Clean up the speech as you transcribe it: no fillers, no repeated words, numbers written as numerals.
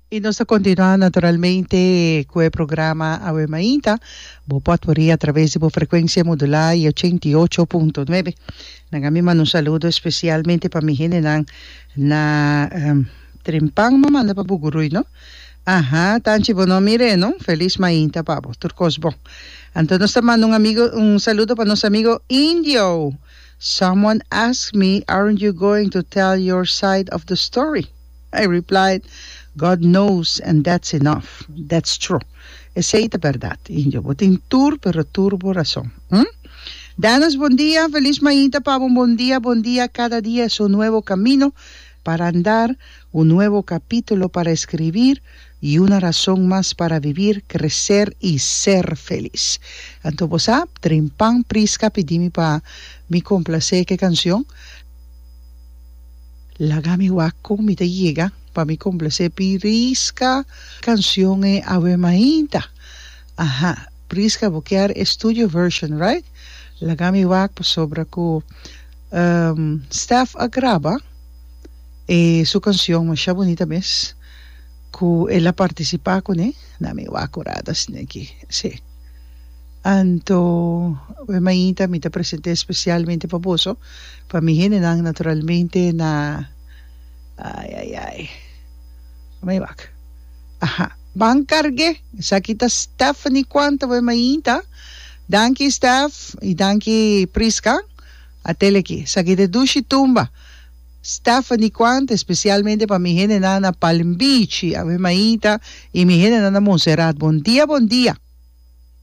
Y nos ta continua naturalmente cu e programa Awe Mainta. Bo por adquirí a traves di bo frecuencia modulá y 88.9. Nan a mi manda un saludo especialmente pa mi hendenan na Trempan m'a manda pa Buguruy no. Aha, Tanchi bo no mir'é no. Feliz mainta pa bo. Tur cos bon. Anto nos ta manda un amigo un saludo pa nos amigo Indio. Someone asked me aren't you going to tell your side of the story? I replied, God knows and that's enough. That's true. Esei ta bèrdat, Indio. Bo tin tur pero tur bo rason. Hm? Danos bon dia, feliz mainta pa bo. Bon dia, bon dia. Cada dia es un nuevo camino para andar, un nuevo capítulo para escribir y una razón mas para vivir, crecer y ser feliz. Anto bo sa, Trimpan Prisca pidi mi pa mi complacé ke cancion. Laga mi wak kon mi ta yega pa mi komplase Prisca kansion e awe mainta. Aha, Prisca bo kier e studio version right? Laga mi wak pasobra ku Stef a graba e su kansion masha bunita mes ku el a partisipa kuné. Na mi wak ora ta asina aki, si. Anto e mainta mi ta present'é espesialmente pa boso, pa mi hendenan naturalmente na ai ai ai mi wak aha ban karg'é esaki ta Stephanie Quanta bo e mainta danki Steph y danki Prisca a tele aki esaki ta e dushi tumba Stephanie Quanta espesialmente pa mi hendenan na Palm Beach awe mainta y mi hendenan na Montserrat bon dia bon dia.